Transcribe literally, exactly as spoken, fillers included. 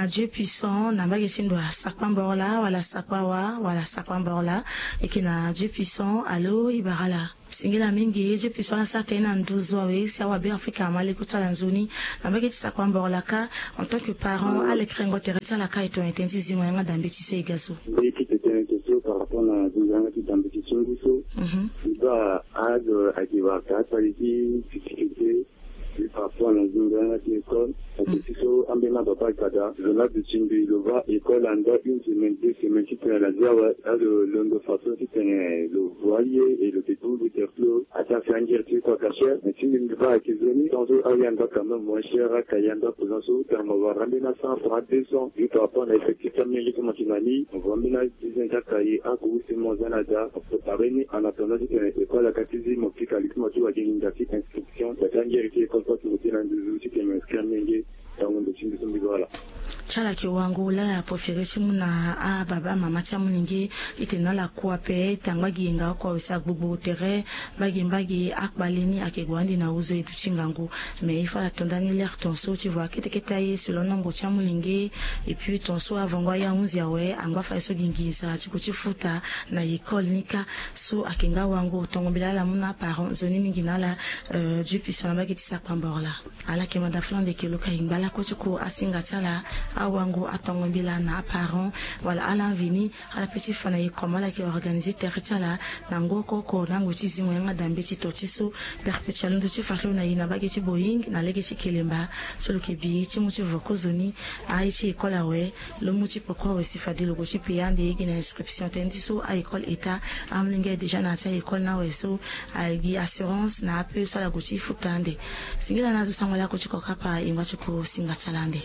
Dieu puissant na mbage ti ndo asakpa mborola wala sakpa wa wala sakpa mborola. Eke na Dieu puissant alo ibarala. Singila mingi Dieu puissant ala sara tene na nduzu awe si awa be afrika ama leko ti ala nzoni. Na mbage ti sakpa mborola ka en tant que parent ala krengo tere ti ala ka eto ete nti zingo yanga dambe ti so e ga so. Mbi ti tene so par rapport na zingo yanga ti dambe ti so ngu so. Mbi baa age ake wara ka atali ti fifike te. Mbi par rapport na zingo yanga ti école. Ake ti so ambeni ababa agada zo na aduti mbi lo baa école anda une semaine deux semaines titene na zia awe. Alo londo façon titene lo voie ye et lo te bongbi terplo. Ata si angere ti kua kacher mais ti mbi mbi baa ake zo ni tant so ayanda quand même moins cher aka yanda présent so tene mo wara ambeni a cent franc deux cents. Mbi par rapport na effectif ti amenge so mo ti na ni mo voie ambeni a dix-neuf ti akaye agu use mo za na da mo prépare ni en attendant titene école aka ti zi mo pika li ti mo ti wage linda ti inscription da ti angere ti école so ake mo ti na nduzu titene mo inscrire amenge. Tango ndo ti mbi so mbi zo ala. Ti ala yeke wango lala apo fere ti mu na ababa amama ti amolenge. Itene na ala kue ape ete angba gi yenga oko awe si agbogbo tere. Mbage mbage akpale ni ayeke gue ande na ozo e duti ngangu. Mais il faut ala to ndani lere tonso ti voie kete kete aye selon nombre ti amolenge. Et puis tonso avango aye ahunzi awe angba fade so gi nginza ti gue ti futa na école ni kâ. So ayeke nga wango tongo mbela ala mu na aparent nzoni mingi na ala. Dieu puissant na mbage ti sakpa mborola. Ala yeke manda fana ande yeke lo ka yingba lakue ti ku asinga ti ala. Awango atongo mbela na aparent wala ala mveni. Ala pe ti fa na ye comme ala yeke organiser tere ti ala na ngu oko oko na ngu ti zingo yanga dambe ti to ti so. Perpétuel ndo ti fa ti lo na ye na mbage ti boying na lege ti kelemba. So lo yeke bi ye ti mu ti vo kozoni aye ti école awe. Lo mu ti poko awe si fade lo gue ti paye ande ye gi na inscription tënë ti so a-école état. Amolenge déjà na ya ti a-école ni awe so agi assurance na ape so ala gue ti futa ande. Singila na azo sango lakue ti kokapa e ngba ti ku singa ti ala ande.